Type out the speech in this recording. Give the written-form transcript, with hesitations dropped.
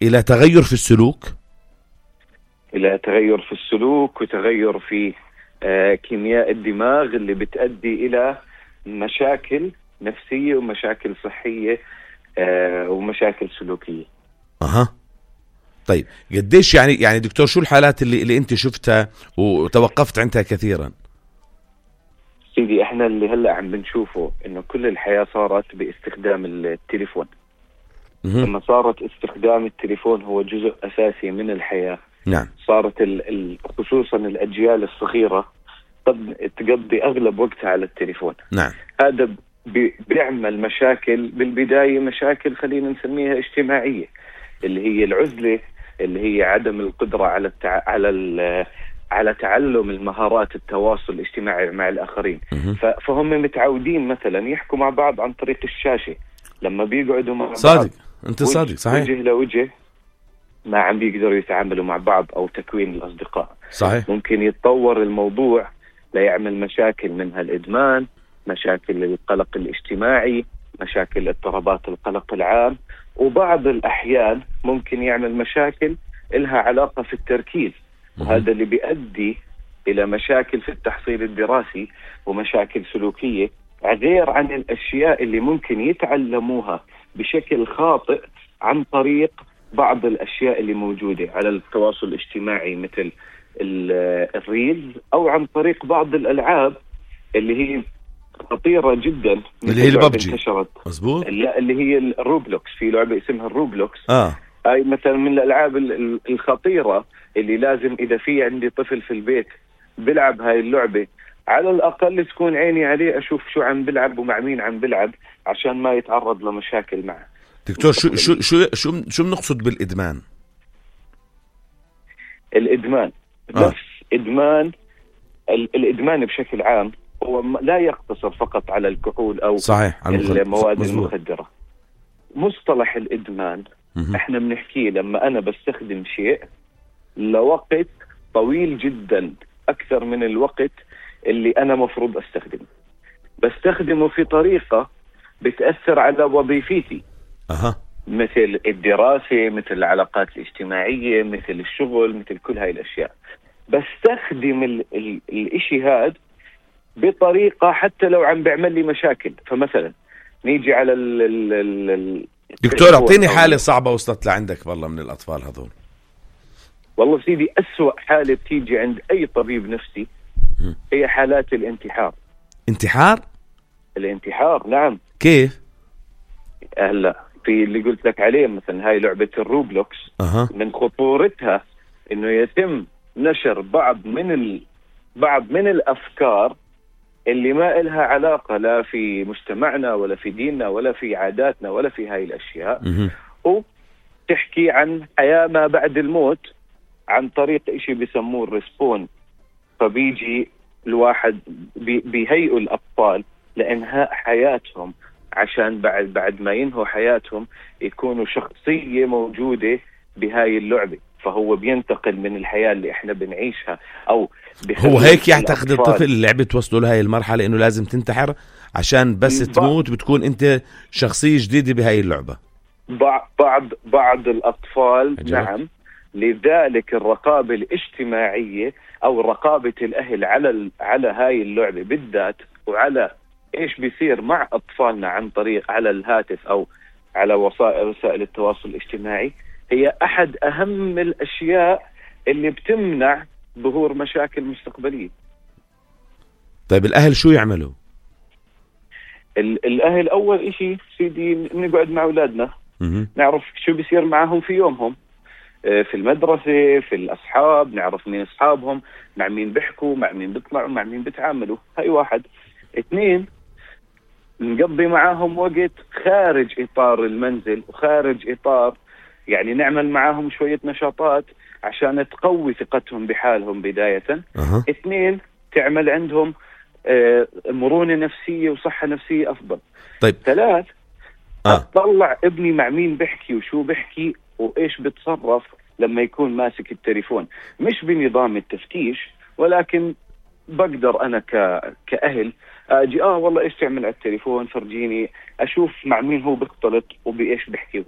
إلى تغير في السلوك؟ إلى تغير في السلوك وتغير في كيمياء الدماغ اللي بتؤدي إلى مشاكل نفسية ومشاكل صحية ومشاكل سلوكية. طيب قديش يعني دكتور شو الحالات اللي انت شفتها وتوقفت عندها كثيرا؟ سيدي احنا اللي هلأ عم بنشوفه انه كل الحياة صارت باستخدام التليفون. لما صارت استخدام التليفون هو جزء اساسي من الحياة. نعم. صارت خصوصا الاجيال الصغيرة تقضي اغلب وقتها على التليفون. نعم. هذا بيعمل مشاكل بالبداية، مشاكل خلينا نسميها اجتماعية، اللي هي العزلة، اللي هي عدم القدرة على تعلم المهارات التواصل الاجتماعي مع الآخرين. فهم متعودين مثلا يحكوا مع بعض عن طريق الشاشة، لما بيقعدوا مع بعض صادق، انت صادق، صحيح، وجه لوجه ما عم بيقدروا يتعاملوا مع بعض أو تكوين الأصدقاء. صحيح. ممكن يتطور الموضوع ليعمل مشاكل منها الإدمان، مشاكل القلق الاجتماعي، مشاكل اضطرابات القلق العام، وبعض الأحيان ممكن يعمل مشاكل إلها علاقة في التركيز، وهذا اللي بيؤدي إلى مشاكل في التحصيل الدراسي ومشاكل سلوكية، غير عن الأشياء اللي ممكن يتعلموها بشكل خاطئ عن طريق بعض الأشياء اللي موجودة على التواصل الاجتماعي مثل الريلز، أو عن طريق بعض الألعاب اللي هي خطيرة جدا، اللي هي الببجي. انتشرت. مزبوط. لا، اللي هي الروبلوكس، في لعبة اسمها الروبلوكس. هاي مثلا من الألعاب الخطيرة اللي لازم إذا في عندي طفل في البيت بلعب هاي اللعبة، على الأقل تكون عيني عليه أشوف شو عم بلعب ومع مين عم بلعب عشان ما يتعرض لمشاكل معه. دكتور شو بنقصد بالإدمان؟ الإدمان نفس إدمان الإدمان بشكل عام هو لا يقتصر فقط على الكحول أو صحيح المواد المخدرة. مصطلح الإدمان احنا بنحكيه لما أنا بستخدم شيء لوقت طويل جدا أكثر من الوقت اللي أنا مفروض بستخدمه في طريقة بتأثر على وظيفتي. مثل الدراسة، مثل العلاقات الاجتماعية، مثل الشغل، مثل كل هاي الأشياء. بستخدم الاشي هاد بطريقة حتى لو عم بيعمل لي مشاكل. فمثلا نيجي على دكتور اعطيني حالة صعبة وصلت لعندك والله من الأطفال هذول. والله سيدي أسوأ حالة بتيجي عند أي طبيب نفسي هي حالات الانتحار. الانتحار نعم. كيف؟ هلا في اللي قلت لك عليه مثلا هاي لعبة الروبلوكس. من خطورتها انه يتم نشر بعض من الافكار اللي ما إلها علاقة لا في مجتمعنا ولا في ديننا ولا في عاداتنا ولا في هاي الاشياء، وتحكي عن حياة ما بعد الموت عن طريق اشي بيسموه الريسبون. فبيجي الواحد بيهيئوا الاطفال لانهاء حياتهم عشان بعد ما ينهوا حياتهم يكونوا شخصية موجودة بهاي اللعبة. فهو بينتقل من الحياة اللي احنا بنعيشها او هو هيك يعتقد الطفل اللعبة توصله لهاي المرحلة انه لازم تنتحر عشان بس تموت بتكون انت شخصية جديدة بهاي اللعبة. بعض الأطفال نعم. لذلك الرقابة الاجتماعية أو رقابة الأهل على هاي اللعبة بالذات، وعلى إيش بيصير مع أطفالنا عن طريق على الهاتف أو على وسائل التواصل الاجتماعي، هي أحد أهم الأشياء اللي بتمنع ظهور مشاكل مستقبلية. طيب الأهل شو يعملوا؟ الأهل أول إشي سيدي نقعد مع أولادنا نعرف شو بيصير معهم في يومهم، في المدرسة، في الأصحاب، نعرف مين أصحابهم، مع مين بيحكوا، مع مين بيطلعوا، مع مين بيتعاملوا. هاي واحد. 2 نقضي معاهم وقت خارج إطار المنزل وخارج إطار يعني نعمل معاهم شوية نشاطات عشان تقوي ثقتهم بحالهم بداية. 2 تعمل عندهم مرونة نفسية وصحة نفسية أفضل. طيب 3 أطلع ابني مع مين بحكي وشو بحكي وإيش بتصرف لما يكون ماسك التليفون، مش بنظام التفتيش ولكن بقدر أنا كأهل أجي والله إيش تعمل على التليفون، فرجيني أشوف مع مين هو بيختلط وبإيش بحكي هو.